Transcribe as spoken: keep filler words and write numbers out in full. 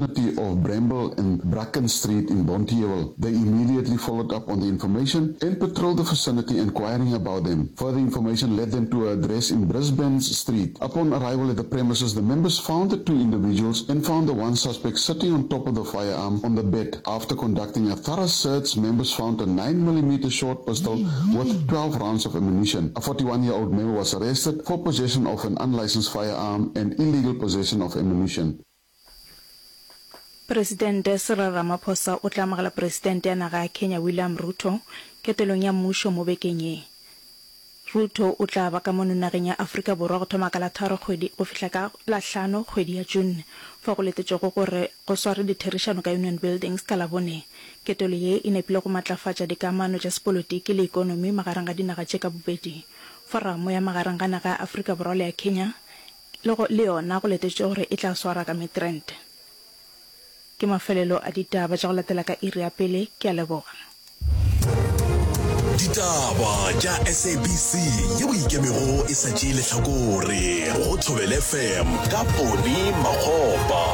vicinity of Bramble and Bracken Street in Bonteheuwel. They immediately followed up on the information and patrolled the vicinity inquiring about them. Further information led them to an address in Brisbane Street. Upon arrival at the premises, the members found the two individuals and found the one suspect sitting on top of the firearm on the bed. After conducting a thorough search, members found a nine millimeter short pistol with twelve rounds of ammunition. A forty-one-year-old male was arrested for possession of an unlicensed firearm and illegal possession of ammunition. Presidente Cyril Ramaphosa o tla amogela Presidente ya naga ya Kenya William Ruto ketelong ya mmušo mo bekeng ye. Ruto o tla ba ka mono nageng ya Afrika Borwa go thoma ka la tharo kgwedi go fihla ka la hlano kgwedi ya June, fao go letetšwego gore go swarwe ditherišano ka Union Buildings ka Labone. Ketelo ye e nepile go matlafatša dikamano tša sepolotiki le ekonomi magareng ga dinaga tše ka bobedi. Foramo ya magareng ga naga ya Afrika Borwa le ya Kenya le go le yona go letetšwe gore e tla swarwa ka Midrand. Ke mafelelo a ditaba tša go latela ka iri ya pele. Ke a leboga. Ditaba tša S A B C yeo ikemego e sa tšee lehlakore go Thobela F M ka Poni Makgopa.